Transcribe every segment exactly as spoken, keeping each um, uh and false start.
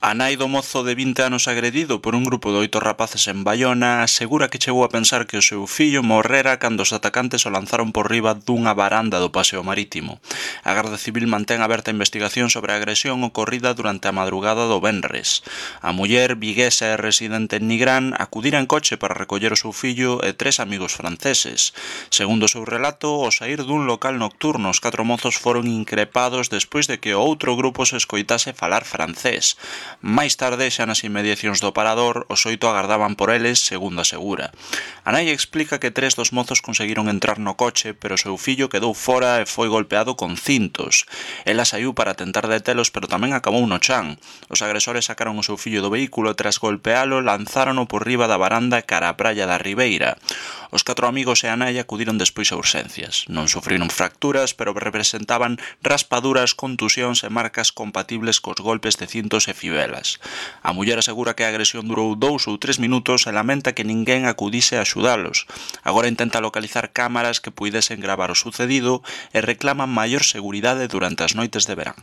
A nai do mozo de vinte anos agredido por un grupo de oito rapaces en Baiona asegura que chegou a pensar que o seu fillo morrera cando os atacantes o lanzaron por riba dunha varanda do paseo marítimo. A Garda Civil mantén aberta a investigación sobre a agresión ocorrida durante a madrugada do venres. A muller, viguesa e residente en Nigrán, acudira en coche para recoller o seu fillo e tres amigos franceses. Segundo o seu relato, ao saír dun local nocturno, os catro mozos foron increpados despois de que o outro grupo se escoitase falar francés. Máis tarde, xa nas inmediacións do parador, os oito agardaban por eles, segundo asegura. A nai explica que tres dos mozos conseguiron entrar no coche, pero o seu fillo quedou fora e foi golpeado con cintos. Ela saiu para tentar detelos, pero tamén acabou no chan. Os agresores sacaron o seu fillo do vehículo e, tras golpealo, lanzárono por riba da varanda cara á praia da Ribeira. Os catro amigos e a nai acudiron despois a urxencias. Non sufriron fracturas, pero representaban raspaduras, contusións e marcas compatibles cos golpes de cintos e fibelas. A muller asegura que a agresión durou dous ou tres minutos e lamenta que ninguén acudise a axudalos. Agora intenta localizar cámaras que puidesen gravar o sucedido e reclaman maior seguridade durante as noites de verán.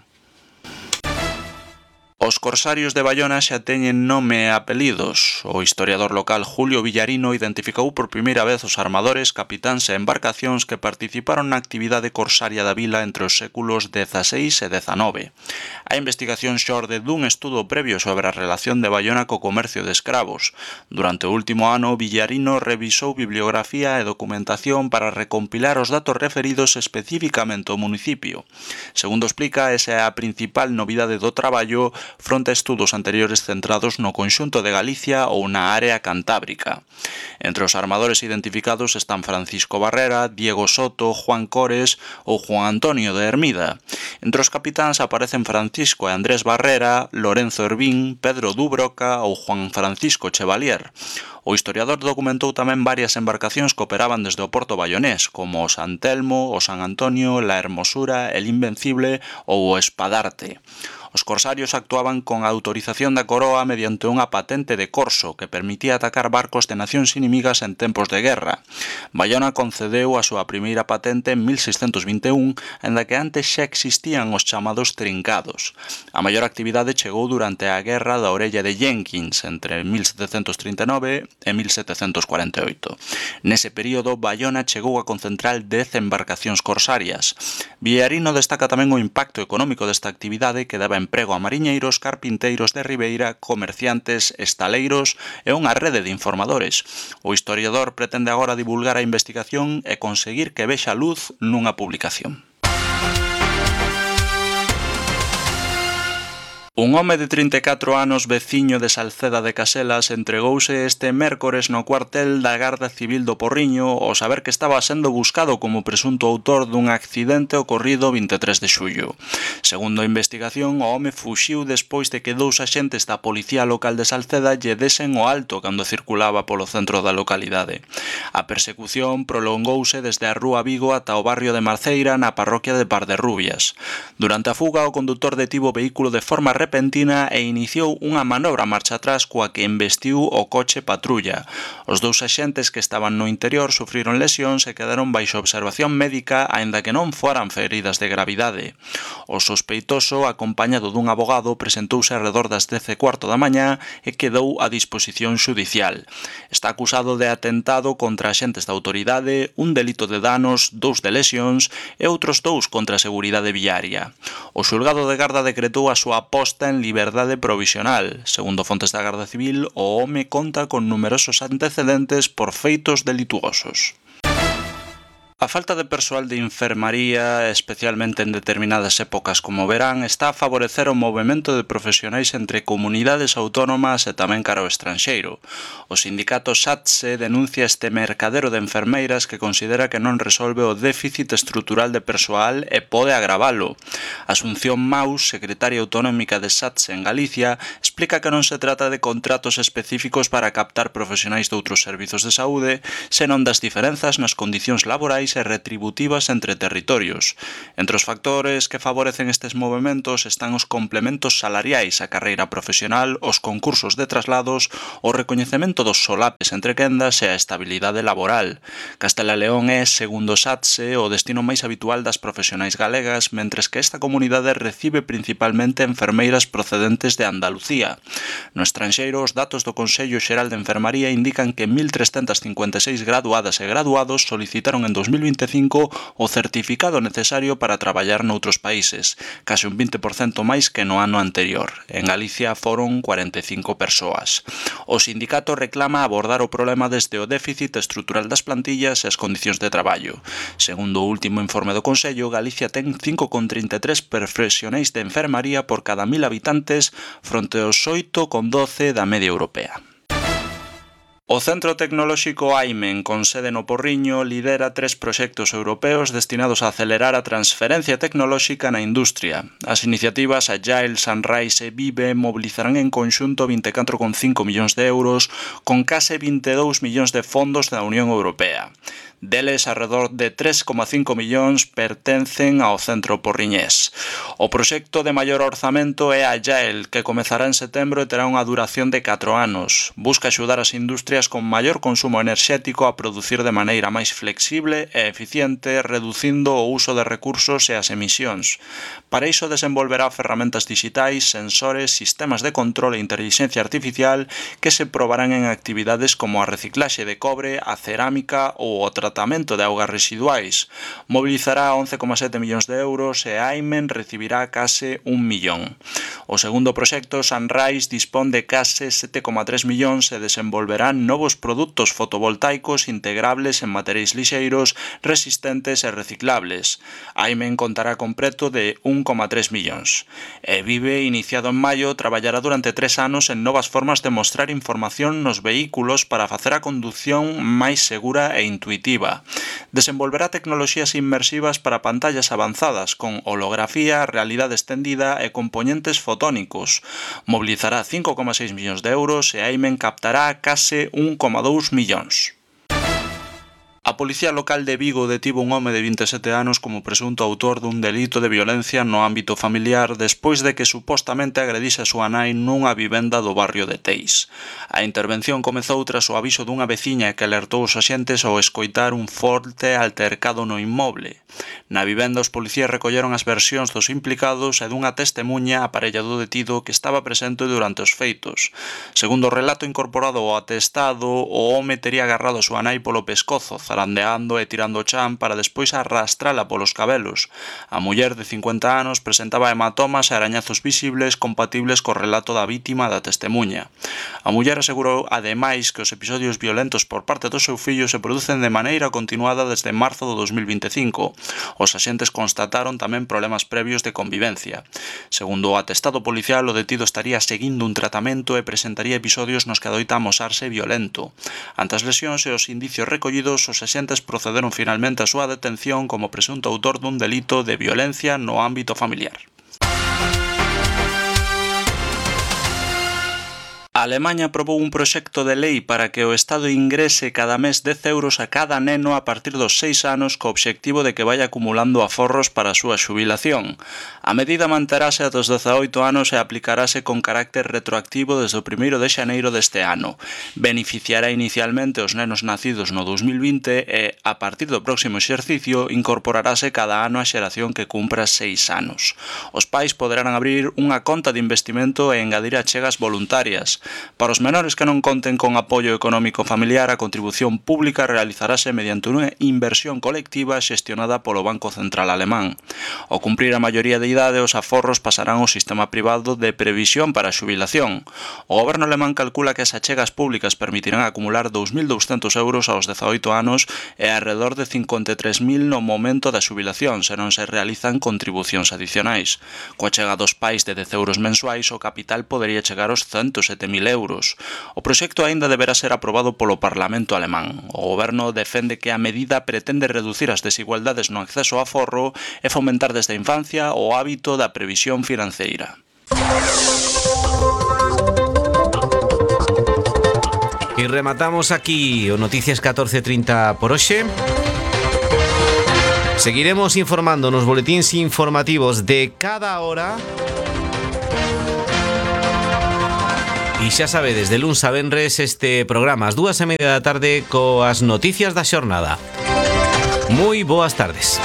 Os corsarios de Baiona xa teñen nome e apelidos. O historiador local Julio Villarino identificou por primeira vez os armadores, capitáns e embarcacións que participaron na actividade corsaria da vila entre os séculos dezaseis e dezanove. A investigación xorde dun estudo previo sobre a relación de Baiona co comercio de escravos. Durante o último ano, Villarino revisou bibliografía e documentación para recompilar os datos referidos especificamente ao municipio. Segundo explica, esa é a principal novidade do traballo fronte a estudos anteriores centrados no conxunto de Galicia ou na área cantábrica. Entre os armadores identificados están Francisco Barrera, Diego Soto, Juan Cores ou Juan Antonio de Hermida. Entre os capitáns aparecen Francisco e Andrés Barrera, Lorenzo Hervín, Pedro Dubroca ou Juan Francisco Chevalier. O historiador documentou tamén varias embarcacións que operaban desde o porto baionés, como o San Telmo, o San Antonio, la Hermosura, el Invencible ou o Espadarte. Os corsarios actuaban con a autorización da coroa mediante unha patente de corso que permitía atacar barcos de nacións inimigas en tempos de guerra. Baiona concedeu a súa primeira patente en mil seiscentos vinte e un, aínda que antes xa existían os chamados trincados. A maior actividade chegou durante a Guerra da Orella de Jenkins, entre mil setecentos trinta e nove e mil setecentos cuarenta e oito. Nese período, Baiona chegou a concentrar dez embarcacións corsarias. Villarino destaca tamén o impacto económico desta actividade que daba emprego a mariñeiros, carpinteiros de Ribeira, comerciantes, estaleiros e unha rede de informadores. O historiador pretende agora divulgar a investigación e conseguir que vexa luz nunha publicación. Un home de trinta e catro anos, veciño de Salceda de Caselas, entregouse este mércores no cuartel da Garda Civil do Porriño ao saber que estaba sendo buscado como presunto autor dun accidente ocorrido vinte e tres de xullo. Segundo a investigación, o home fuxiu despois de que dous axentes da Policía Local de Salceda lle desen o alto cando circulaba polo centro da localidade. A persecución prolongouse desde a Rúa Vigo ata o barrio de Marceira na parroquia de Parderrubias. Durante a fuga, o condutor detivo o vehículo de forma repentina e iniciou unha manobra marcha atrás coa que embestiu o coche patrulla. Os dous axentes que estaban no interior sufriron lesións e quedaron baixo observación médica aínda que non foran feridas de gravidade. O sospeitoso, acompañado dun abogado, presentouse arredor das dez e cuarto da mañá e quedou a disposición xudicial. Está acusado de atentado contra axentes da autoridade, un delito de danos, dous de lesións e outros dous contra a seguridade viaria. O xulgado de Garda decretou a súa posta en liberdade provisional. Segundo fontes da Garda Civil, o home conta con numerosos antecedentes por feitos delituosos. A falta de persoal de enfermaría, especialmente en determinadas épocas como o verán, está a favorecer o movemento de profesionais entre comunidades autónomas e tamén cara ao estranxeiro. O sindicato SATSE denuncia este mercadero de enfermeiras que considera que non resolve o déficit estrutural de persoal e pode agravalo. Asunción Maus, secretaria autonómica de SATSE en Galicia, explica que non se trata de contratos específicos para captar profesionais de outros servizos de saúde, senón das diferenzas nas condicións laborais salariais e retributivas entre territorios. Entre os factores que favorecen estes movementos están os complementos salariais, a carreira profesional, os concursos de traslados, o recoñecemento dos solapes entre quendas e a estabilidade laboral. Castela e León é, segundo SATSE, o destino máis habitual das profesionais galegas, mentres que esta comunidade recibe principalmente enfermeiras procedentes de Andalucía. No estranxeiro, os datos do Consello Xeral de Enfermaría indican que mil trescentas cincuenta e seis graduadas e graduados solicitaron en dos mil vinte e cinco o certificado necesario para traballar noutros países, case un vinte por cento máis que no ano anterior. En Galicia foron cuarenta e cinco persoas. O sindicato reclama abordar o problema desde o déficit estrutural das plantillas e as condicións de traballo. Segundo o último informe do Consello, Galicia ten cinco coma trinta e tres profesionais de enfermaría por cada mil habitantes fronte aos oito coma doce da media europea. O Centro Tecnolóxico AIMEN, con sede no Porriño, lidera tres proxectos europeos destinados a acelerar a transferencia tecnolóxica na industria. As iniciativas Agile, Sunrise e Vive mobilizarán en conxunto vinte e catro coma cinco millóns de euros con case vinte e dous millóns de fondos da Unión Europea. Deles, arredor de tres coma cinco millóns pertencen ao centro porriñés. O proxecto de maior orzamento é Agile, que comezará en setembro e terá unha duración de catro anos. Busca axudar as industrias con maior consumo enerxético a producir de maneira máis flexible e eficiente, reducindo o uso de recursos e as emisións. Para iso desenvolverá ferramentas digitais, sensores, sistemas de control e inteligencia artificial que se probarán en actividades como a reciclaxe de cobre, a cerámica ou o tratamento de augas residuais. Mobilizará once coma sete millóns de euros e AIMEN recibirá case un millón. O segundo proxecto, Sunrise, dispón de case sete coma tres millóns e desenvolverá novos produtos fotovoltaicos integrables en materiais lixeiros, resistentes e reciclables. AIMEN contará con preto de un coma tres millóns. E Vive, iniciado en maio, traballará durante tres anos en novas formas de mostrar información nos vehículos para facer a condución máis segura e intuitiva. Desenvolverá tecnoloxías inmersivas para pantallas avanzadas con holografía, realidade extendida e componentes fotónicos. Mobilizará cinco coma seis millóns de euros e AIMEN captará case un coma dous millóns. A Policía Local de Vigo detivo un home de vinte e sete anos como presunto autor dun delito de violencia no ámbito familiar despois de que supostamente agredise a súa nai nunha vivenda do barrio de Teis. A intervención comezou tras o aviso dunha veciña que alertou os axentes ao escoitar un forte altercado no inmoble. Na vivenda, os policías recolleron as versións dos implicados e dunha testemuña a parella do detido que estaba presente durante os feitos. Segundo o relato incorporado ao atestado, o home tería agarrado a súa nai polo pescozo, zarandeando e tirando o chan para despois arrastrala polos cabelos. A muller de cincuenta anos presentaba hematomas e arañazos visibles compatibles co relato da vítima da testemuña. A muller asegurou ademais que os episodios violentos por parte do seu fillo se producen de maneira continuada desde marzo do dos mil vinte e cinco. Os axentes constataron tamén problemas previos de convivencia. Segundo o atestado policial, o detido estaría seguindo un tratamento e presentaría episodios nos que adoita amosarse violento. Ante as lesións e os indicios recollidos, os axentes procederon finalmente á súa detención como presunto autor dun delito de violencia no ámbito familiar. A Alemaña aprobou un proxecto de lei para que o Estado ingrese cada mes dez euros a cada neno a partir dos seis anos co obxectivo de que vaya acumulando aforros para a súa xubilación. A medida manterase ata os dezaoito anos e aplicarase con carácter retroactivo desde o primeiro de xaneiro deste ano. Beneficiará inicialmente os nenos nacidos no dos mil vinte e, a partir do próximo exercicio, incorporarase cada ano a xeración que cumpra seis anos. Os pais poderán abrir unha conta de investimento e engadir achegas voluntarias. Para os menores que non conten con apoio económico familiar, a contribución pública realizarase mediante unha inversión colectiva xestionada polo Banco Central Alemán. Ao cumprir a maioría de idade, os aforros pasarán ao sistema privado de previsión para a xubilación. O goberno alemán calcula que as achegas públicas permitirán acumular dous mil douscentos euros aos dezaoito anos e alrededor de cincuenta e tres mil no momento da xubilación, se non se realizan contribucións adicionais. Coa achega dos pais de dez euros mensuais, o capital podería chegar aos ciento sete mil euros. O proxecto aínda deberá ser aprobado polo Parlamento alemán. O goberno defende que a medida pretende reducir as desigualdades no acceso ao aforro e fomentar desde a infancia o hábito da previsión financeira. E rematamos aquí o Noticias catorce trinta por hoxe. Seguiremos informando nos boletíns informativos de cada hora. E xa sabedes, de luns a venres este programa ás dúas e media da tarde coas noticias da xornada. Moi boas tardes.